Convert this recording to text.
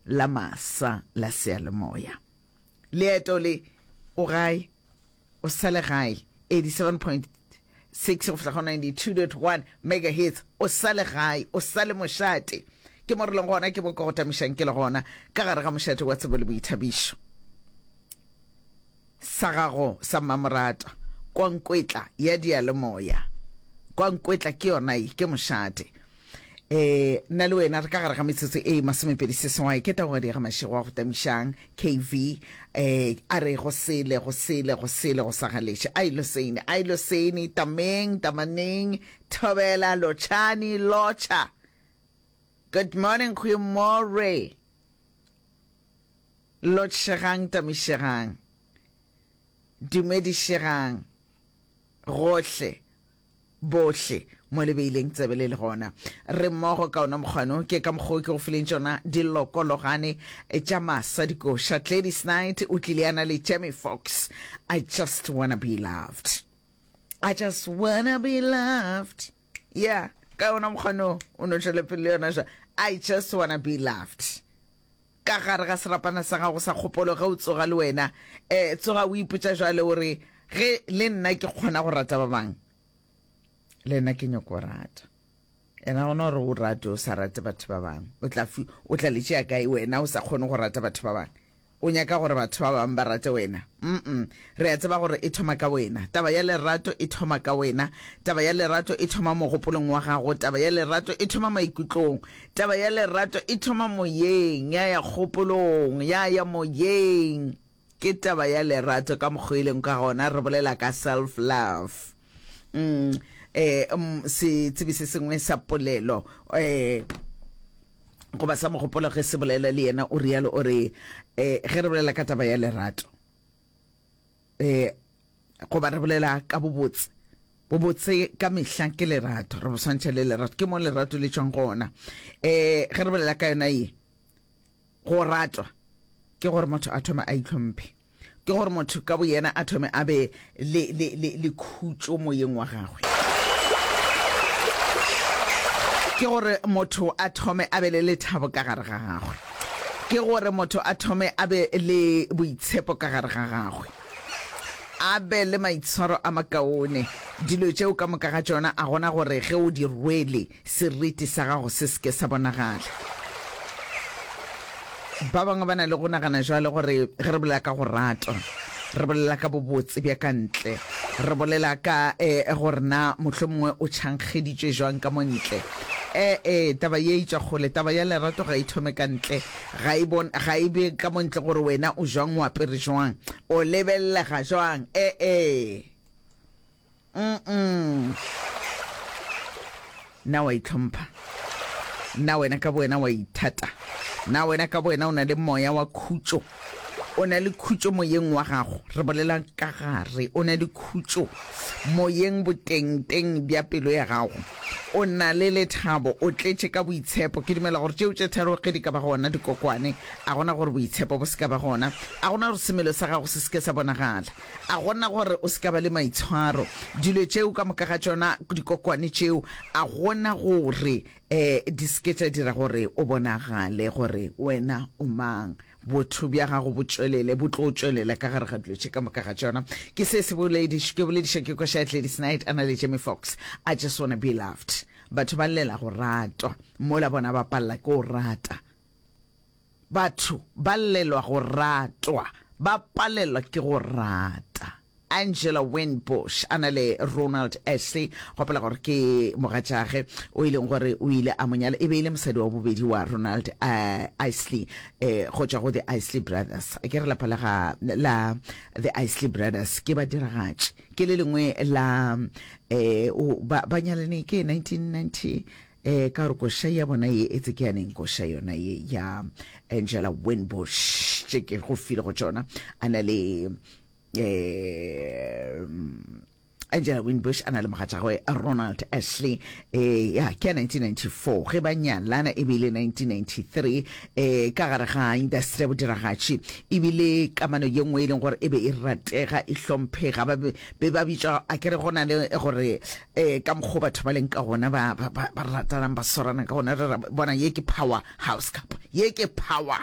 la masa la seyalemoya. Leeto le, o gae, o sa le gae, 87.6 go fihla go 92.1 megahertz, o sa le gae, o sa le mošate. Ke mo re leng gona, ke mo ke go tamišang ke le gona, ka gare ga mošate wa tsebo le boithabišo. Sa gago sa mmamoratwa, kwankwetla ya diyalemoya. Kwankwetla ke yona ye, ke mošate. E, nna le wena re ka gare ga metsotso e masomepedi seswai. Ke taogadi ya ga Mašego wa go tamišang, KV. E, a re go sele, go sele, go sele, go sa galeše. A ilo sene, a ilo sene, tameng, tamaneng, thobela, lotšhani, lotšha. Good morning, goeiemorre. Lotšhegang, tamišegang, dumedišegang, gohle, bohle mo le beileng tsebe le le gona. Re mmogo ka ona mokgwano, ke ka mokgwa o ke go fileng tšona dilokologane tša masa dikoša. Gladys Knight o tlile a na le Jamie Foxx, I just wanna be loved. I just wanna be loved. Yeah, ka ona mokgwano o no tšwele pele le yona jwa. I just wanna be loved. Ka gare ga serapana sa gago sa kgopolo ge o tsoga le wena, eh, tsoga o ipotša jwale o re, Ge le nna ke kgona go rata ba bangwe, le nna ke nyoko rata. Ena gona gore o rate o sa rate batho ba bangwe, o tla fi, o tla le tšea kae wena o sa kgone go rata batho ba bangwe? O nyaka gore batho ba bangwe ba rate wena? Mm-mm. Re a tseba gore e thoma ka wena. Taba ya lerato e thoma ka wena. Taba ya lerato e thoma mogopolong wa gago. Taba ya lerato e thoma maikutlong. Taba ya lerato e thoma moyeng, ya ya kgopolong, ya ya moyeng. Ke taba ya lerato ka mokgwa e leng ka gona, re bolela ka self love. Mm, eh, mm, setsebi se sengwe sa polelo eh, goba sa mogopolo ge se bolela le yena o rialo o re eh, ge re bolela ka taba ya lerato eh, goba re bolela ka bobotse bobotse ka mehla ke lerato re bo swantšha le lerato ke mo lerato le tšwang gona um ge re bolela ka yona ye go ratwa ke gore motho a thome a itlhomphe ke gore motho ka boyena a thome a be le, le, le, le khutšo moyeng wa gagwe ke gore motho a thome a be le lethabo ka gare ga gagwe ke gore motho a thome a be le boitshepo ka gare ga gagwe A be le maitshwaro a makaone. Dilo tšeo ka moka ga tšona a gona gore ge o di rwele, seriti sa gago se se ke sa bonagala. Ba bangwe ba na le go nagana jwale gore ge re bolela ka go ratwa, re bolela ka bobotse bja ka ntle, re bolela ka eh, gore na mohlomongwe o tšhankgeditšwe jwang ka mo ntle. E-e, taba ye e tšwa kgole. Taba ya lerato ga e thome ka ntle. Ga e bon, ga e be ka mo ntle gore wena o jwang, o apere jwang, o lebelelega jwang. E-e. Mm-mm. Na wa itlhompha? Na wena ka bowena wa ithata? Na wena ka bowena o na le moya wa khutšo? O na le khutšo moyeng wa gago? Re bolela ka gare. O na le khutšo moyeng botengteng bja pelo ya gago? O na le lethabo, o tletše ka boitshepo. Ke dumela gore tšeo tše tharo ge di ka ba gona, dikokwane, a gona gore boitshepo bo se ka ba gona, a gona gore semelo sa gago se se ke sa bonagala, a gona gore o se ka ba le maitshwaro. Dilo tšeo ka moka ga tšona, dikokwane tšeo, a gona gore um di se ke tša dira gore o bonagale gore wena o mang. Botho bja gago bo tšwelele, bo tlo tšwelela ka gare ga dilo tše ka moka ga tšona. Ke se se bolediš, ke bolediša ke koša ya Gladys Knight a na le Jamie Foxx, I just wanna be loved. Batho ba llela go ratwa, mola bona ba palela ke go rata. Batho ba llelwa go ratwa, ba palelwa ke go rata. Angela Winbush a na le Ronald Ashley, gopola gore ke mogatšage o e leng gore o ile a mo nyala, e be e le mosadi wa bobedi wa Ronald uh, Isley eh, go tšwa go The Isley Brothers. Ke re lapa la ga la The Isley Brothers ke badiragatši, ke le lengwe la eh, o, ba, ba nyalane ke 1990 eh, ka gore koša ya bona ye etse ke ya neng koša yona ye ya Angela Winbush tše ke go file go tšona a na le eh Angela Winbush a na le mogatšagwe Ronald Ashley eh ya ke ya 1994 ge ba nyalana e bile 1993 eh ka gare ga industry ya bodiragatši ebile kamano ye nngwe e leng gore e be e ratega e hlomphega ba be ba bitšwa a kere go na le gore eh ka mokgwa batho ba leng ka gona ba ba ba ratanang ba swarana ka gona re bona ye ke power house cup ye ke power.